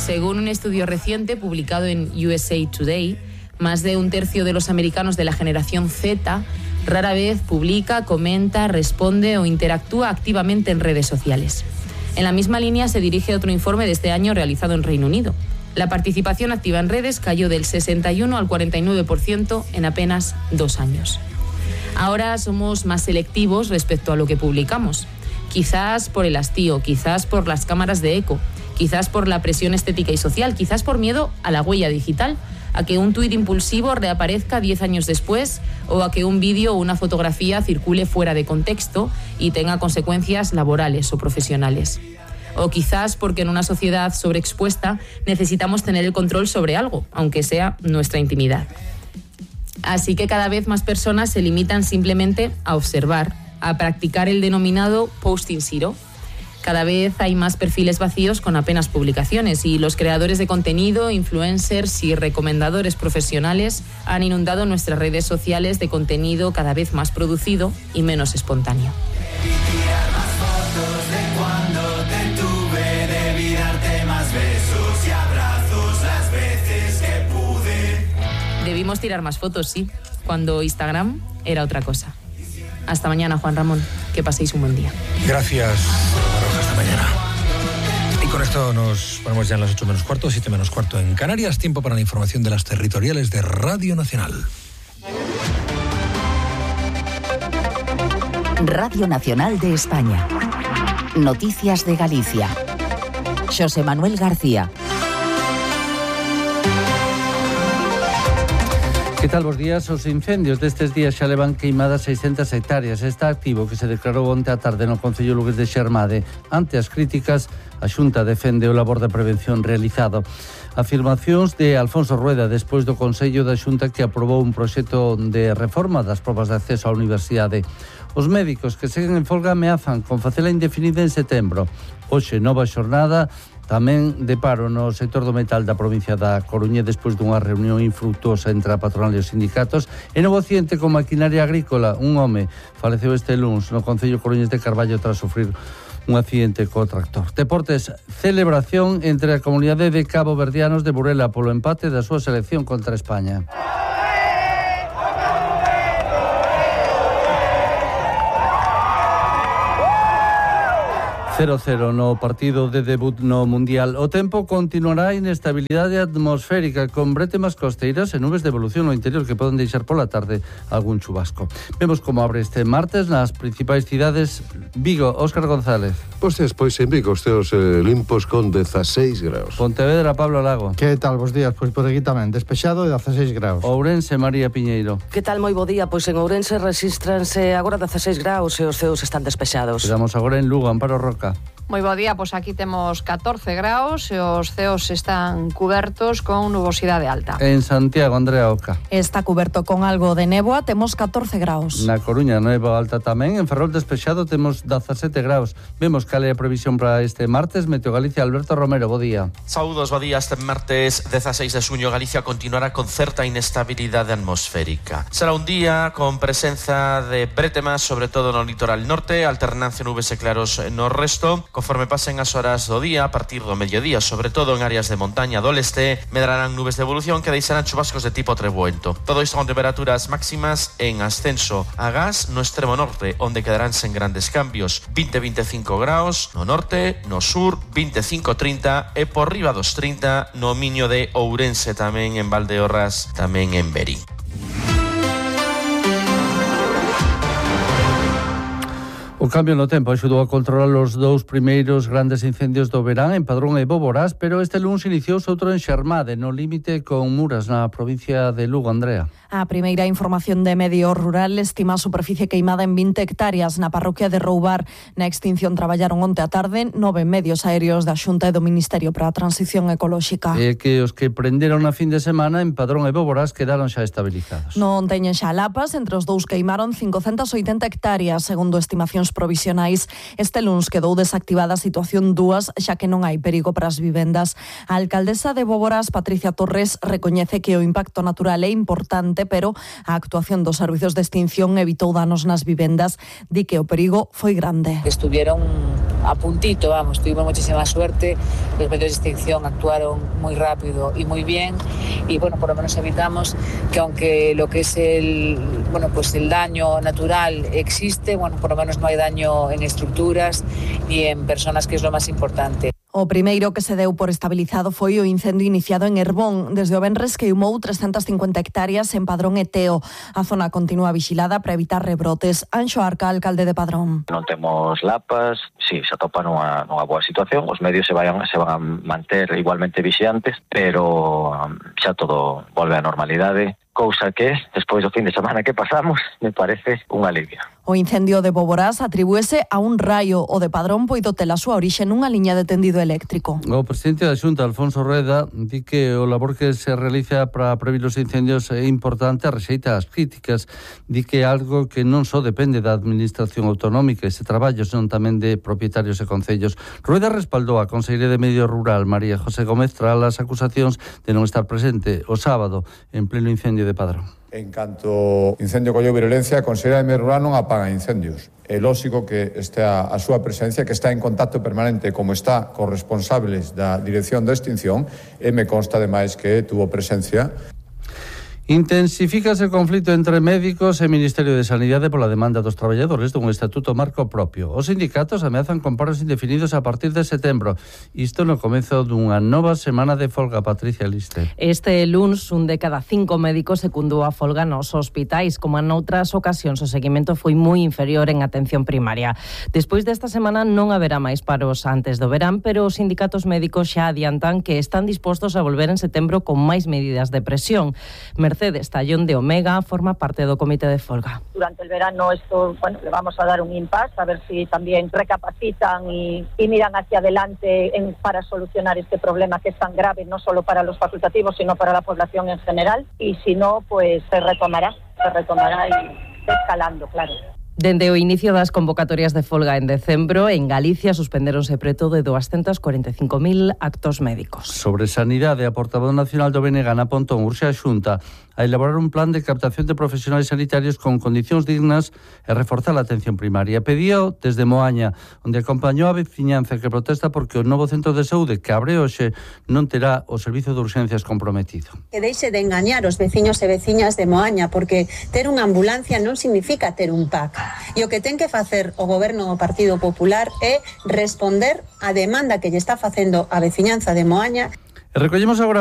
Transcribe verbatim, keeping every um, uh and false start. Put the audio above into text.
Según un estudio reciente publicado en U S A Today, más de un tercio de los americanos de la generación Z rara vez publica, comenta, responde o interactúa activamente en redes sociales. En la misma línea se dirige otro informe de este año realizado en Reino Unido. La participación activa en redes cayó del sesenta y uno al cuarenta y nueve por ciento en apenas dos años. Ahora somos más selectivos respecto a lo que publicamos. Quizás por el hastío, quizás por las cámaras de eco, quizás por la presión estética y social, quizás por miedo a la huella digital, a que un tuit impulsivo reaparezca diez años después o a que un vídeo o una fotografía circule fuera de contexto y tenga consecuencias laborales o profesionales. O quizás porque en una sociedad sobreexpuesta necesitamos tener el control sobre algo, aunque sea nuestra intimidad. Así que cada vez más personas se limitan simplemente a observar, a practicar el denominado posting zero. Cada vez hay más perfiles vacíos con apenas publicaciones y los creadores de contenido, influencers y recomendadores profesionales han inundado nuestras redes sociales de contenido cada vez más producido y menos espontáneo. Debimos tirar más fotos, sí, cuando Instagram era otra cosa. Hasta mañana, Juan Ramón. Que paséis un buen día. Gracias, Baroja. Hasta mañana. Y con esto nos ponemos ya en las ocho menos cuarto, siete menos cuarto en Canarias. Tiempo para la información de las territoriales de Radio Nacional. Radio Nacional de España. Noticias de Galicia. José Manuel García. Que tal, bos días? Os incendios destes días xa levan queimadas seiscentas hectáreas. Está activo que se declarou onte á tarde no Concello Lugués de Xermade. Ante as críticas, a Xunta defende o labor de prevención realizado. Afirmacións de Alfonso Rueda despois do Consello da Xunta que aprobou un proxecto de reforma das probas de acceso á universidade. Os médicos que seguen en folga ameazan con facela indefinida en setembro. Hoxe, nova xornada tamén de paro no sector do metal da provincia da Coruña despois dunha reunión infrutuosa entre a patronal e os sindicatos. E novo accidente con maquinaria agrícola. Un home faleceu este luns no Concello Coruñés de Carballo tras sufrir un accidente co tractor. Deportes, celebración entre a comunidade de Cabo Verdianos de Burela polo empate da súa selección contra España. cero cero no partido de debut no Mundial. O tempo continuará a inestabilidade atmosférica con bretemas costeiras e nubes de evolución no interior que poden deixar pola tarde algún chubasco. Vemos como abre este martes nas principais cidades. Vigo, Óscar González. Pois despois en Vigo os teos eh, limpos con dezaseis graus. Pontevedra, Pablo Lago. Que tal, bos días? Pois por aquí tamén, despexado e dezaseis graus. Ourense, María Piñeiro. Que tal, moi bo día? Pois en Ourense regístranse agora dezaseis graus e os ceos están despexados. Quedamos agora en Lugo, Amparo Roca. Moi bo día, pois aquí temos catorce graus e os ceos están cubertos con nubosidade alta. En Santiago, Andrea Oca. Está cuberto con algo de néboa, temos catorce graus. Na Coruña, néboa alta tamén. En Ferrol despexado temos dezasete graus. Vemos cal é a previsión para este martes. Meteo Galicia, Alberto Romero, bo día. Saúdos, bo día. Este martes dezaseis de xuño Galicia continuará con certa inestabilidade atmosférica. Será un día con presenza de bretemas, sobre todo no litoral norte, alternancia nubes e claros no resto. Conforme pasen as horas do día, a partir do mediodía, sobre todo en áreas de montaña do leste, medrarán nubes de evolución que deixarán chubascos de tipo trebuento. Todo isto con temperaturas máximas en ascenso a gas no extremo norte, onde quedarán sen grandes cambios. vinte a veinticinco graus no norte, no sur, veinticinco a trinta e por riba dos trinta no miño de Ourense, tamén en Valdeorras, tamén en Verín. O cambio no tempo axudou a controlar os dous primeiros grandes incendios do verán en Padrón e Boborás, pero este luns iniciouse outro en Xermade, no límite con Muras, na provincia de Lugo, Andrea. A primeira información de Medio Rural estima a superficie queimada en vinte hectáreas na parroquia de Roubar. Na extinción traballaron onte a tarde nove medios aéreos da Xunta e do Ministerio para a Transición Ecolóxica. E que os que prenderon na fin de semana en Padrón e Boborás quedaron xa estabilizados. Non teñen xa lapas, entre os dous queimaron cincocentas oitenta hectáreas, segundo estimacións solucións provisionais. Este luns quedou desactivada a situación dúas, xa que non hai perigo para as vivendas. A alcaldesa de Boborás, Patricia Torres, recoñece que o impacto natural é importante, pero a actuación dos servizos de extinción evitou danos nas vivendas. Di que o perigo foi grande. Estuvieron a puntito, vamos, tuvimos muchísima suerte, los medios de extinción actuaron muy rápido y muy bien y bueno, por lo menos evitamos que aunque lo que es el, bueno, pues el daño natural existe, bueno, por lo menos no hay daño en estructuras ni en personas, que es lo más importante. O primeiro que se deu por estabilizado foi o incendio iniciado en Herbón. Desde o venres queimou trescentas cincuenta hectáreas en Padrón e Teo. A zona continúa vigilada para evitar rebrotes. Anxo Arca, alcalde de Padrón. Non temos lapas, si, se atopa nunha, nunha boa situación. Os medios se, vayan, se van a manter igualmente vixiantes, pero xa todo volve á normalidade. Cousa que, despois do fin de semana que pasamos, me parece un alivio. O incendio de Boborás atribúese a un raio. O de Padrón poido ter a súa orixe nunha liña de tendido eléctrico. O presidente da Xunta, Alfonso Rueda, di que o labor que se realiza para prevenir os incendios é importante, rexeita as críticas. Di que é algo que non só depende da administración autonómica, ese traballo, senón tamén de propietarios e concellos. Rueda respaldou a conselleira de Medio Rural, María José Gómez, tras as acusacións de non estar presente o sábado en pleno incendio de Padrón. En canto incendio colleu virulencia, a Conselleira de Medio Rural non apaga incendios. É lógico que este a, a súa presencia, que está en contacto permanente, como está cos responsables da Dirección de Extinción, e me consta ademais que tuvo presencia. Intensifícase o conflito entre médicos e Ministerio de Sanidade pola demanda dos traballadores dun estatuto marco propio. Os sindicatos ameazan con paros indefinidos a partir de setembro. Isto no comezo dunha nova semana de folga. Patricia Liste. Este luns, un de cada cinco médicos secundou a folga nos hospitais. Como en outras ocasións, o seguimento foi moi inferior en atención primaria. Despois desta semana non haberá máis paros antes do verán, pero os sindicatos médicos xa adiantan que están dispostos a volver en setembro con máis medidas de presión. Mercedes Tallón de Omega forma parte do comité de folga. Durante el verano esto, bueno, le vamos a dar un impasse a ver si también recapacitan y, y miran hacia adelante en, para solucionar este problema que es tan grave, no solo para los facultativos, sino para la población en general. Y si no, pues se retomará, se retomará y escalando, claro. Dende o inicio das convocatorias de folga en decembro, en Galicia suspenderonse preto de doscientos cuarenta e cinco mil actos médicos. Sobre sanidade, a portavoz nacional do B N G, Ana Pontón, urxe a Xunta a elaborar un plan de captación de profesionais sanitarios con condicións dignas e reforzar a atención primaria. Pedío desde Moaña, onde acompañou a veciñanza que protesta porque o novo centro de saúde que abre hoxe non terá o servizo de urxencias comprometido. Que deixe de engañar os veciños e veciñas de Moaña, porque ter unha ambulancia non significa ter un P A C. E o que ten que facer o goberno do Partido Popular é responder á demanda que lle está facendo a veciñanza de Moaña. E recollemos agora